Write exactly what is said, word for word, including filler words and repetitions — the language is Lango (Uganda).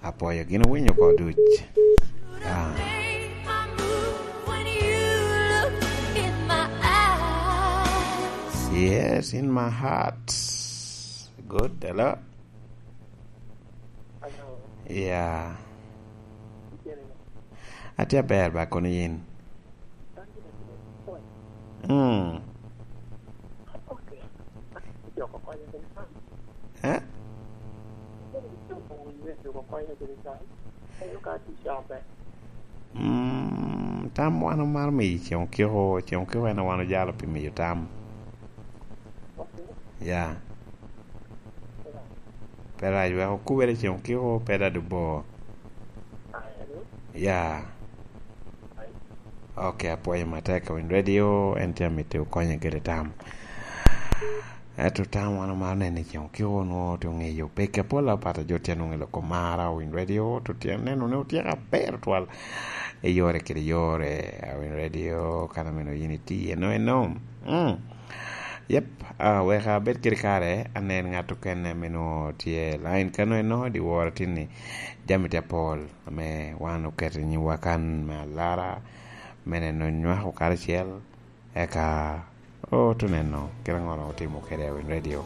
Apwoyo gin owinyo oko duc. Ah. Yes, in my heart. Good, hello. Yeah. Atye aber ba, kono yin? Mm. Eh? Mm, tam wan omaro miyo i Ceŋ Okiko, Ceŋ Okiko en a wan ojalo pi miyo tam. Ya. Pe rac, wek okubere i Ceŋ Okiko, pe dado bo. Ya. Ok, apwoyo matek, Owiny Radio, en tye amito konye kede tam. Ento tam wan omaro neno i Ceŋ Okiko, nwoŋo tye oŋeyo peke apol apat a jo tye nwoŋo i loko mara, Owiny Radio, to tye neno ni otyeko aber twal i yore kede yore, Owiny Radio, kan ameno yin itye eno eno. Mm. Yep, ah, wek abed kede kare, anen ŋat okene me nwoŋo tye line kano eno, dyewor atinni, jami tye apol ame wan oketo i nyimwa kan me alara, me neno nywako karacel, eka oto neno kite aŋo otimo kede Owiny Radio.